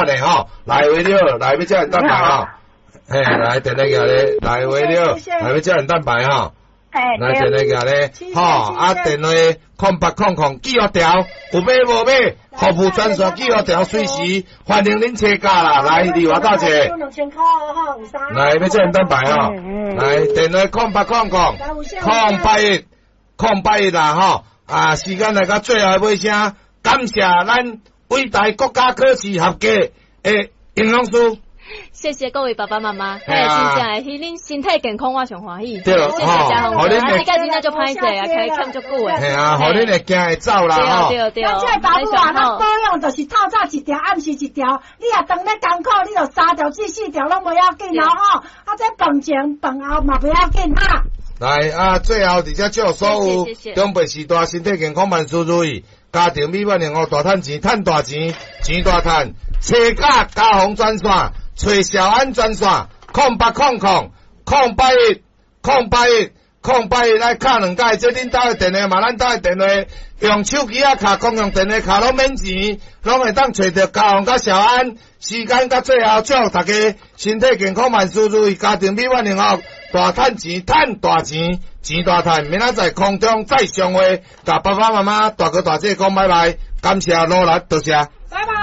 咧吼，來喂了，來欲膠原蛋白吼，嘿，來電話寄咧，來喂了，來欲膠原蛋白吼。來電話寄咧，吼，啊電話0800記號條，有買無買？服務專線記號條隨時歡迎恁請假啦，來麗華大姐，來欲膠原蛋白吼，來電話0800 081 081啦吼，啊時間來到最後的尾聲，感謝咱偉大國家考試合格的營養師。謝謝各位爸爸媽媽，嘿，真正會替恁身體健康，我上歡喜。對，謝謝嘉宏哥，啊，你家真正足歹勢啊，開欠足久的。嘿啊，予恁會行會走啦吼。對對對。咱這个爸母啊，咱保養就是透早一條，暗時一條。你若當咧艱苦，你就三條至四條攏袂要緊哦吼。啊，這飯前飯後嘛袂要緊哈。來啊，最後佇遮祝所有長輩序大身體健康萬事如意，家庭美滿幸福，大趁錢，趁大錢，錢大趁。車價家訪專線，揣小安專線，0800 081 081 081來敲兩擺，這恁兜的電話嘛，咱兜的電話，用手機仔敲公用電話敲攏免錢，攏會當揣著家訪佮小安。時間到最後，祝大家身體健康，萬事如意，家庭美滿幸福，大趁錢，趁大錢，錢大趁。明仔載空中再相會，共爸爸媽媽、大哥大姐講拜拜，感謝努力，多謝。拜拜。